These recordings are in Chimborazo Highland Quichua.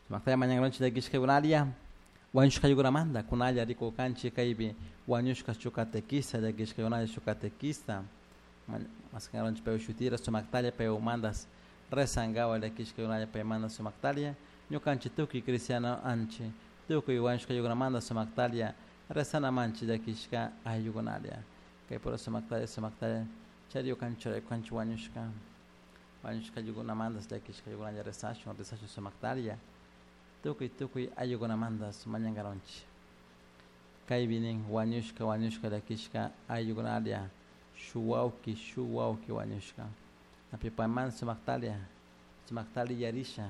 Sumaktalla mañankaronchik llakishkakunalla wañushkaykunamanta kunalla rikurkanchik kaypi wañushka shuk catequista llakishkakunalla shuk catequista maskankaronchik paywan shutira sumaktalla paywanmantas rezankawa llakishkakunalla paymanta sumaktalla ñukanchik tukuy cristiano anchik tukuy wañushkaykunamanta sumaktalla rezanamanchik llakishka ayllukunalla kay pura sumaktalla sumaktalla chariukanchik churaykanchik wañushka wañushka ayllukunamantas llakishkaykunalla rezashun rezashun sumaktalla tukuy tukuy ayllukunamantas mañankaronchik kaypi nin wañushka wañushka llakishka ayllukunalla shuk wawki shuk wawki wañushka api paymanta sumaktalla sumaktalla yarisha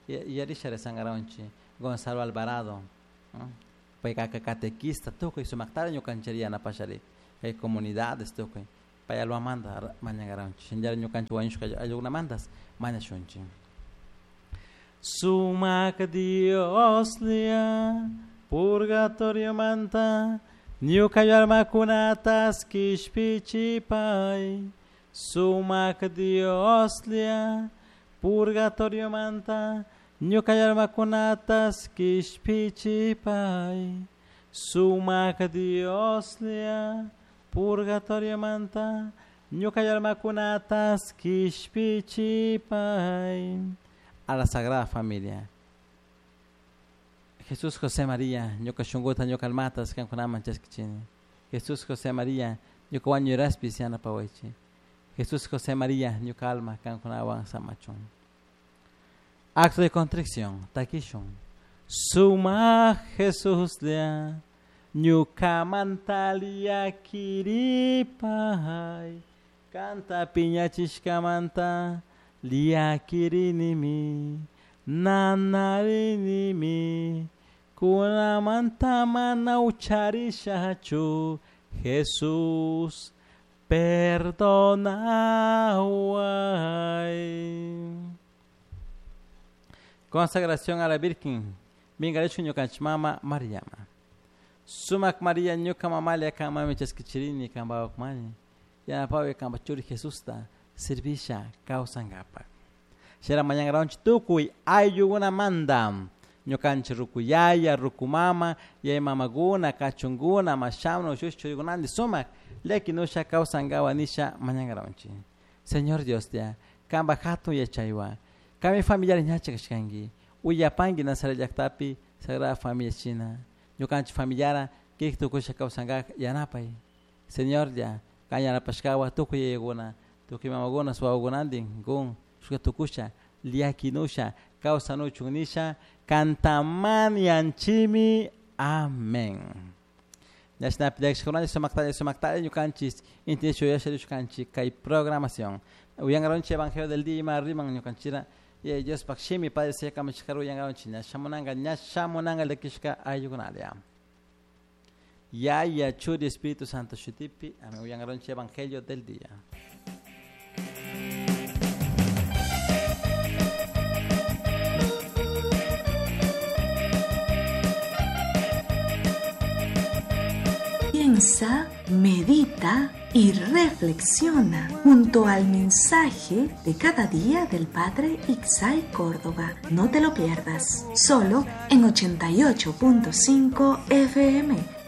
yarisha rezankaronchik Gonzalo Alvarado payka catequista tukuy sumaktalla ñukanchik yanapashari kay comunidades tukuy pay almamanta mañankaronchik shinallara ñukanchik wañushka ayllukunamantas mañashunchik. Sumak Dioslla purgatoriomanta ñuka almakunatas kishpichipay. Sumak Dioslla purgatoriomanta ñuka almakunatas kishpichipay. Sumak Dioslla purgatoriomanta ñuka almakunatas kishpichipay. A la Sagrada Familia. Jesús José María, ñuka shunkuta ñuka almatas kankunaman chaskichini. Jesús José María, ñuka wañuraspis yanapawaychik. Jesús José María, ñuka alma kankunawan samachun. Acto de contrición, takishun. Suma Jesuslla, ñukamanta llakiripay. Kanta piñachishkamanta llakirinimi, nanarinimi, kunamanta mana ucharishachu, Jesús, perdonaway. Consagración a la Virgen, Mingarechu ñukanchik mama Mariama. Sumak María ñuka mamalia kanmami chaskichirini kanpawakmani. Yanapawi kanpa churi Jesusta servisha kawsankapak. Shera mañankaronchik tukuy ayllukunamanta ñukanchik rukuyaya, rukumama, yaya mamakuna, kachunkuna, mashamna, ushushi churikunanti sumak llakinusha kawsankawa nisha mañankaronchik. Señor Dioslla, kanpa hatun yachaywan, kanmi familiar ñacha kashkanki, uyapanki Nazaret llaktapi Sagrada Familia shina, ñukanchik familiara kik tukusha kawsankak yanapay. Señorlla, kan yanapashkawa tukuy yayakuna, tukuy mamakuna, wawakunantin kun shuka tukusha llakinusha kawsanuchun nisha kantamani yanchimi. Amén. Ñashnapi llakishkakunalla sumaktalla sumaktalla ñukanchik inti shuyasha kay programación. Uyankaronchik Evangelio del día ima riman ñukanchira Diospak shimi Padre sea kamachishkara uyankaronchik ña shamunanka ña shamunanka llakishka ayllukunalla. Yaya Churi Espíritu Santo shutipi. Amén. Uyankaronchik Evangelio del día. Piensa, medita y reflexiona junto al mensaje de cada día del Padre Ixay Córdoba. No te lo pierdas, solo en 88.5 FM.